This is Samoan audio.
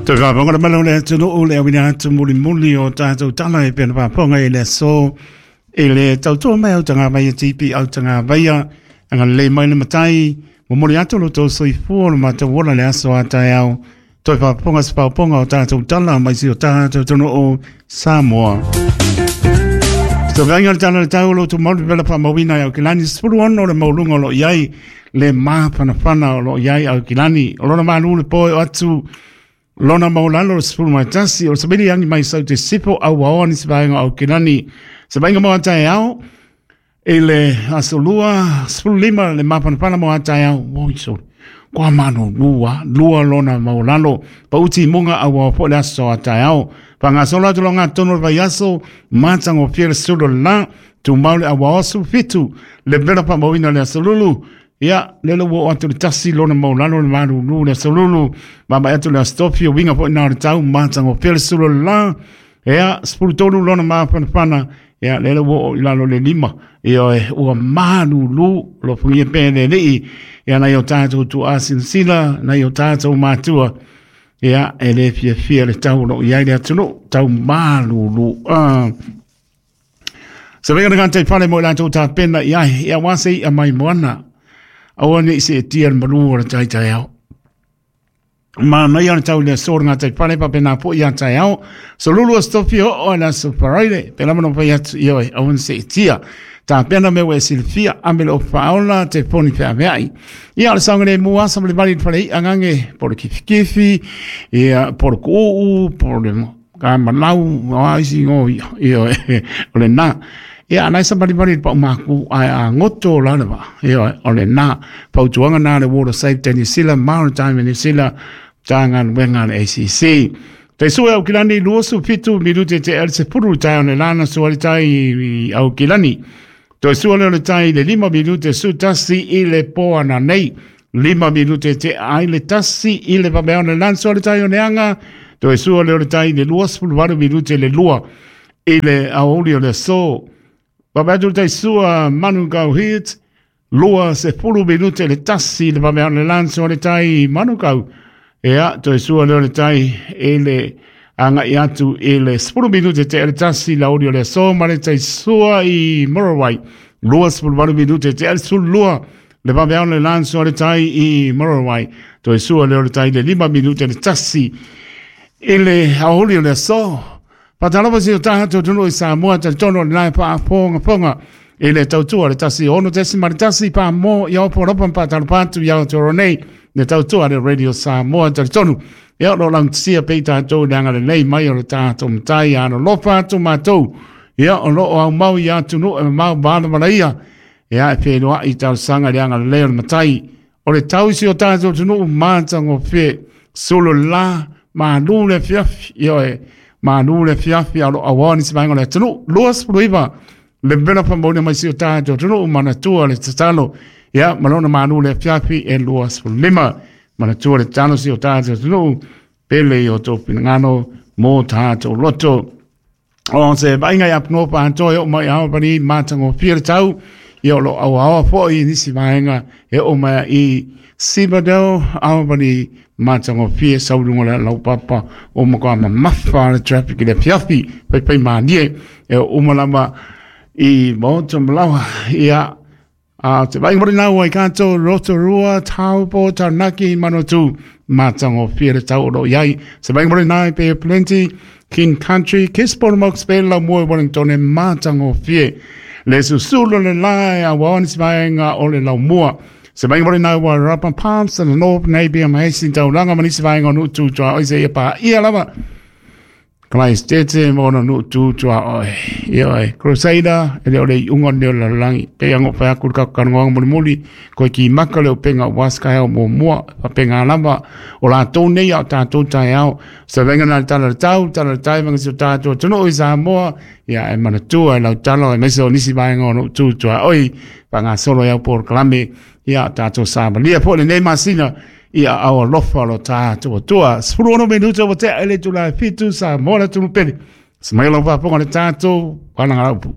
Toe faafofoga mai le atunuu le auina atu mulimuli o tatou tala e pei ona faafofoga i le aso i le tautua mai au tagavaia TP au tagavaia agalelei mai le matai momoli atu lo tou soifua lo matou ola le aso a taeao toe faafofoga se paopaoga o tatou tala mai si o tatou atunuu Samoa. Tauvaga le tala le tau o lo tou malu pela faamauina i Aukilani 16 le mauluga o lo o i ai le mafanafana o lo o i ai Aukilani. O lona malu le po e o atu lona maulalo le 11 o le savili agi mai sau te sipo au aoa nisi vaega o Aukilani. Se vainga mo taeao i le aso lua 15 le mafanafana mo taeao. Oi soli. Kua mano lua, lua lona maulalo. Pauti munga au aoa po le aso a taeao. Whangasolo atu lo ngā tono le vaiaso, mātango fia le sulu la, tumau le awa osu fitu, le vela pa mauina le asolulu, ia, le lo o atu le tasi lona maulalo le marulu le asolulu, mama atu le astofio, winga po ina o le tau, mātango fia le sulu la, ia, 13 lona māwhanawhana, ia, le lo o i lalo le lima, ia, e, ua marulu, lo fungia pe le lii, ia, nai o tātou tu asinsila, nai o tātou mātua, ia, e le fiafia le tau o lo o i ai le atunuu, tau malulu. Se venga ngā te whare mo i lātou tā pena i ai, ia wā se i a mai moana. Aua ne i se e tia le malu o le taitai ao. Ma mai ana tau le aso ngā te whare pa pena po i a tai ao. So lulu a stofi o o la so paraire, pe lama no pai atu i oe, aua ne se e tia. Tā pena me ue silfia, amele o whaola te poni whea meai. Ia, o le saoga le mua sa ma le vali le fale i'a gage po o le kifikifi, ia, po o le ku'u'u, po o le kamalau, o a isi igoa ia, ioe, o lena. Ia, a na e savalivali i le paumākū, ae a goto la le vaa, ioe, o lena. Fautuaga na a le Water Safety New Zealand, Maritime New Zealand, Matagaluega a le ACC. Te sue Aukilani 27 minute te el se puru tai o le lana sua le tai i Aukilani. Toe sua lea o le tai i le 5 minute su tasi i le po ana nei. 5 minute te ai le tasi i le vamea o le lana sua le tai o le anga. Toe sua lea o le tai i le 28 minute le lua i le aoauli o le aso. Vave atu le tai sua Manukau Hit. 20 minute le tasi le vave le lanso le tai Manukau. Ea, toe sua leo le tai e le agai atu i le 10 minute te le tasi la uri o le aso ma le tai sua i Murrawai. 28 minute te le sulua le vave le lanso le tai i Murrawai. Toe sua leo le tai le 5 minute le tasi i le aouli o le aso. Faatalofa si o tatou atunuu i Samoa, talitonu o le lae faafogafoga i le tautua le 16.1 pa mo i Aopo Lopa ma faatalofa atu i Aotearoa nei le tautua le Radio Samoa talitonu. Ia o lo o laugatasia pea i tatou i le agalelei mai o le tatou matai a alolofa atu matou. Ia o lo o aumau i atunuu e mamao malamalaia. Ia e feiloai i talosaga i le agalelei o le matai. O le tau i si o tatou atunuu matagofie sulu la malu le afiafi ioe malu le afiafi a o lo o auaoa nisi vaega o le atunuu 29 le vela faamauina mai si o tatou atunuu manatua le tatalo ia ma lona malu le afiafi e 25 manatua le tatalo si o tatou atunuu pele i o tou finagalo mo tatou loto. O se vaaiga i Apunua Paatoa e oo mai i Albany matagofie le tau, ia o lo o auaoa foi i nisi vaega e oo mai i Cibadel, Albany matagofie sau i luga o le laupapa o matua mamafa le traffic i le afiafi, faifai malie e oo uma lava i Maota Malawa. Ia, a te vaaiga mai nau ai kato Rotorua, Taupo, Taranaki, Manawatu, matagofie le tau o lo o i ai. Se vaaiga mai nai Bay of Plenty, King Country, Gisborne, Hawke's Bay, Laumua, Wellington, matagofie. Le susulu le lae a waoni se vaega o le Laumua. Se vaaiga mai nai Wairarapa, Palmerston, North, Napier, ma Hastings, Tauranga, ma nisi vaega o Nu'u Tuaoi, se ia pā ia lava. Christ ma ona nuu tu tuaoi. Ioe, Crusader, e le o le iuga lenei o le lalolagi. Pei aga o fai atu le tatou talanoaga mulimuli, koe ki maka le upega aua se taeao muamua, faapena lava o latou nei a o tatou taeao. Se vaega na le tala le tau, tala le tai manga si o tatou atunuu i Samoa, ia e manatua e lau tala aemaise o nisi vaega o nuu tu tuaoi, faagasolo ai au polokalame, ia tatou savalia foi lenei masina ia au alofa lo tatou Atua. 16 minuta ua tea i le itula e 7 Samoa le atunuu pele. Se mai lau faafofoga le tatou Palagalaupu.